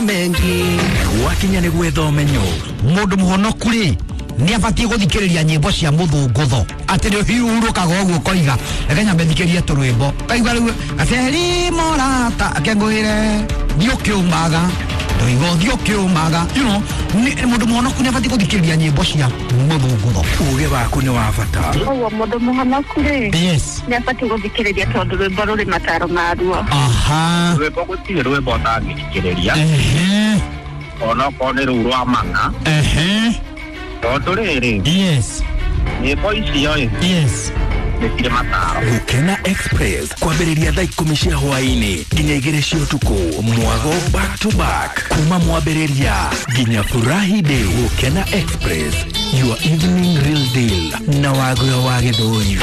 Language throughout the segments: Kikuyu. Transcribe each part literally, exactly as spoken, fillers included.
Mengi Gwakinya nĩ gwetha ũmenyo. Mũndũ mũhonoku rĩ nĩ abatiĩ gũthikĩrĩria nyĩmbo cia mũthũngũtho atĩ nĩ ũhiũrũkaga ũguo ũkoiga reke nyambe thikĩrie tũrwĩmbo kaigua rĩu gaceri morata akengũĩre thiĩ ũkĩũmaga ndoiga ũthiĩ ũkĩũmaga, you know, nĩ- mũndũ mũhonoku nĩ abatiĩ gũthikĩrĩria nyĩmbo cia mũthũngũtho. Uge waku nĩ wa bata. Koguo mũndũ mũhonoku rĩ Yes. nĩ abatiĩ gũthikĩrĩria tondũ rwĩmbo rũrĩ mataro maruo. Aha. Rwĩmbo gũtirĩ rwĩmbo ũtangĩthikĩrĩria Ehe. onokorwo nĩ rũu rwa mang'a Ehe. tondũ rĩrĩ Yes. nyĩmbo icio ĩ Yes. nĩ cirĩ mataro. Gukena Express kwambĩrĩria thaa ikũmi cia hwaĩ-inĩ nginya igĩrĩ cia ũtukũ, mwago back to back kuma mwambĩrĩria nginya furahi day. Gukena Express, your evening real deal na wagũyo wa gĩthũri.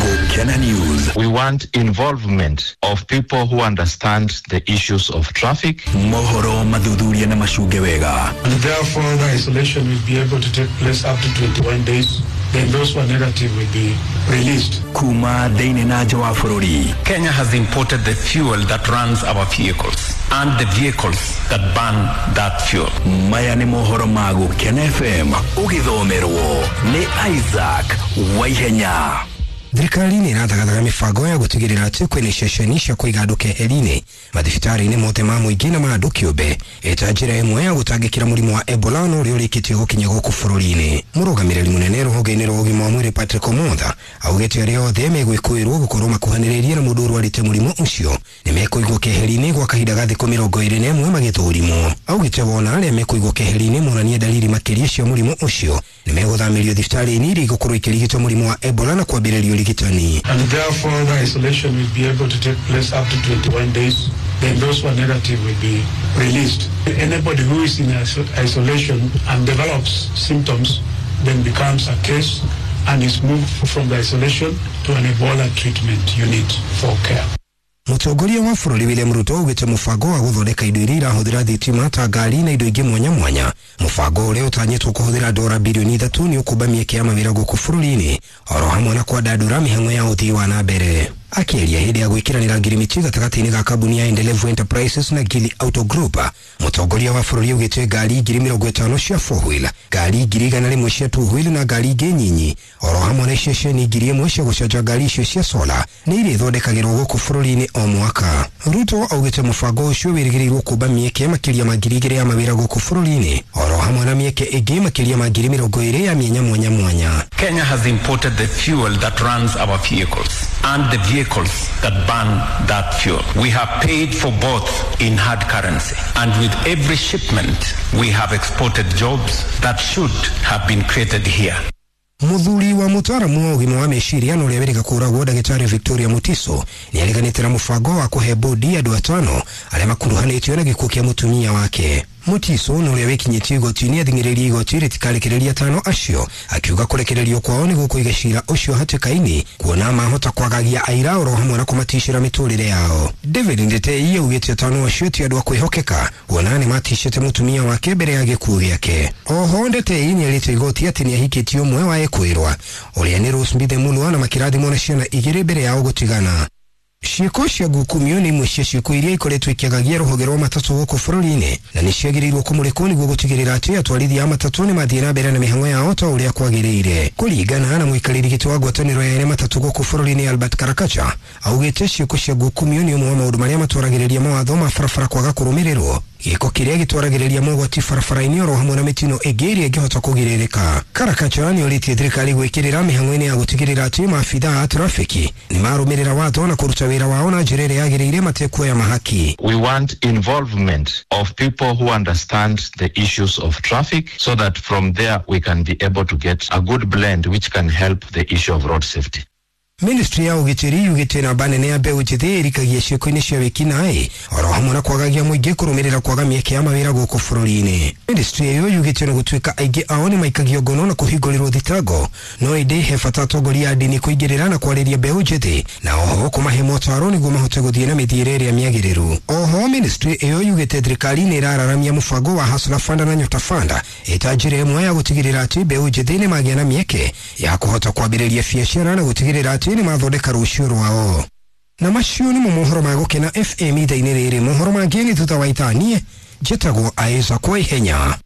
Gukena News. We want involvement of people who understand the issues of traffic. Mohoro mathuthuria na macunge wega. And therefore, the isolation will be able to take place up to twenty-one days. Then those who are negative will be released. Kuma thĩinĩ na nja wa bũrũri. Kenya has imported the fuel that runs our vehicles and the vehicles that burn that fuel. Maya nĩ mohoro ma Gukena F M ũgĩthomerwo nĩ Isaac Waihenya. Thirikari nĩ ĩrathagathaga mĩbango ya gũtigĩrĩra atĩ kwĩna ceceni cia kũiga andũ keheri-inĩ mathibitarĩ-inĩ mothe ma mũingĩ na ma andũ kĩũmbe ĩta njĩra ĩmwe ya gũtangĩkĩra mũrimũ wa Ebola na ũrĩa ũrĩkĩtie gũkinya gũkũ bũrũri-inĩ. Mũrũgamĩrĩri mũnene rũhonge-inĩ rwa ũgima wa mwĩrĩ Patrick Omotha augĩte arĩa othe megwĩkũĩrwo gũkorwo makuhanĩrĩirie na mũndũ ũrwarĩte mũrimũ ũcio nĩ mekũigwo keheri-inĩ gwa kahinda ga thikũ mĩrongo ĩrĩ na ĩmwe magĩthũrimwo. Augĩte wona arĩa mekũigwo keheri-inĩ monanie dalili makĩria cia mũrimũ ũcio nĩ megũthamĩrio thibitarĩ-inĩ iria igũkorwo ikĩrigitwo mũrimũ wa Ebola na kwambĩrĩrio ũrigitani. And therefore, the isolation will be able to take place up to twenty-one days. Then those who are negative will be released. Anybody who is in iso- isolation and develops symptoms then becomes a case and is moved from the isolation to an Ebola treatment unit for care. Mũtongoria wa bũrũri William Ruto augĩte mũbango wa gũthondeka indo iria irahũthĩra thitima ta ngari na indo ingĩ mwanya mwanya, mũbango ũrĩa ũtanyĩtwo kũhũthĩra dora bilioni ithatũ nĩ ũkũmba mĩeke ya mawĩra gũkũ bũrũri-inĩ oro hamwe na kwandandũra mĩhang'o ya ũthii wa na mbere. Akĩaria hĩndĩ ya gwĩkĩranĩra ngirimiti gatagatĩ-inĩ ga kambuni ya Endelevu Enterprises na Gili Auto Group, mũtongoria wa bũrũri augĩte ngari ngiri mĩrongo ĩtano cia four wheel, ngari ngiri igana rĩmwe cia two wheel na ngari ingĩ nyinyi oro hamwe na ceceni ngiri ĩmwe cia gũcanja ngari icio cia sola nĩ irĩthondekagĩrwo gũkũ bũrũri-inĩ o mwaka. Ruto augĩte mũbango ũcio wĩrĩgĩrĩirwo kũmba mĩeke makĩria ma ngiri igĩrĩ ya mawĩra gũkũ bũrũri-inĩ oro hamwe na mĩeke ĩngĩ makĩria ma ngiri mĩrongo ĩrĩ ya mĩanya mwanya mwanya. Kenya has imported the fuel that runs our vehicles and the vehicles that burn that fuel. We have paid for both in hard currency. And with every shipment, we have exported jobs that should have been created here. Muthuri wa mutaramu wa ũgima wa meciria na ũrĩa wĩrĩga kũragwo ndagĩtarĩ Victoria Mutiso nĩ areganĩte na mũbango wa kũhe bodi andũ atano arĩa makuruhanĩtio na gĩkuũ kĩa mũtumia wake. Mutiso na ũrĩa wĩkinyĩtie igoti-inĩ athing'ĩrĩirie igoti rĩtikarekereria atano acio akiuga kũrekererio kwao nĩ gũkũiga cira ũcio hatĩka-inĩ kuona mahota kwagagia aira oro hamwe na kũmaticĩra mĩtũrĩre yao. David Ndetei augĩte atano acio ti andũ a kwĩhokeka kuona nĩ maticĩte mũtumia wake mbere ya gĩkuũ gĩake. Oho Ndetei nĩ erĩte igoti atĩ nĩ ahikĩtie ũmwe wa ekwĩrwa ũrĩa nĩ Rose Mbithe Mulwa na makĩrathimwo na ciana igĩrĩ mbere yao gũtigana. Ciĩko cia ngukumio nĩ imwe cia ciĩko iria ikoretwo ikĩagagia rũhonge rwa matatũ gũkũ bũrũri-inĩ na nĩ ciagĩrĩirwo kũmũrĩkwo nĩguo gũtigĩrĩra atĩ atwarithia a matatũ nĩ mathiĩ na mbere na mĩhang'o yao ta ũrĩa kwagĩrĩire. Kũringana na mũikarĩri gĩtĩ wa ngwatanĩro ya ene matatũ gũkũ bũrũri-inĩ Albert Karakacha augĩte ciĩko cia ngukumio nĩ ũmwe wa maũndũ marĩa matwaragĩrĩria mawatho ma barabara kwaga kũrũmĩrĩrwo, gĩko kĩrĩa gĩtwaragĩrĩria mogwati barabara-inĩ oro hamwe na mĩtino ĩngĩ ĩrĩa ĩngĩhota kũgirĩrĩka. Karakacha nĩ orĩtie thirikari gwĩkĩrĩra mĩhang'o-inĩ ya gũtigĩrĩra atĩ maabithaa a trafiki nĩ marũmĩrĩra watho na kũruta wĩra wao na njĩra ĩrĩa yagĩrĩire matekuoya mahaki. We want involvement of people who understand the issues of traffic so that from there we can be able to get a good blend which can help the issue of road safety. Ministry ya ũgitĩri yugĩte namba nene ya mbeũ njĩthĩ ĩrikagia ciĩko-inĩ cia wĩkinaĩ oro hamwe na kwagagia mũingĩ kũrũmĩrĩra kwaga mĩeke ya mawĩra gũkũ bũrũri-inĩ. Ministry ĩyo yugĩte na gũtuĩka aingĩ ao nĩ maikagio ngono na kũhingũrĩrwo thitango, no ĩndĩ he bata atongoria a ndini kũingĩrĩra na kwarĩria mbeũ njĩthĩ na oho kũmahe motaro nĩguo mahote gũthiĩ na mĩthiĩre ĩrĩa mĩagĩrĩru. Oho ministry ĩyo yugĩte thirikari nĩ ĩrararamia mũbango wa Hustler Fund na Nyota Fund ĩta njĩra ĩmwe ya gũtigĩrĩra atĩ mbeũ njĩthĩ nĩ magĩa na mĩeke ya kũhota kwambĩrĩria biacara na gũtigĩrĩra atĩ nĩ mathondeka rũciũ rwao. Na macio nĩmo mohoro ma Gũkena F M ithaa-inĩ rĩrĩ. Mohoro mangĩ nĩ thutha wa ithaa. Niĩ Njĩtagwo Isaac Waihenya.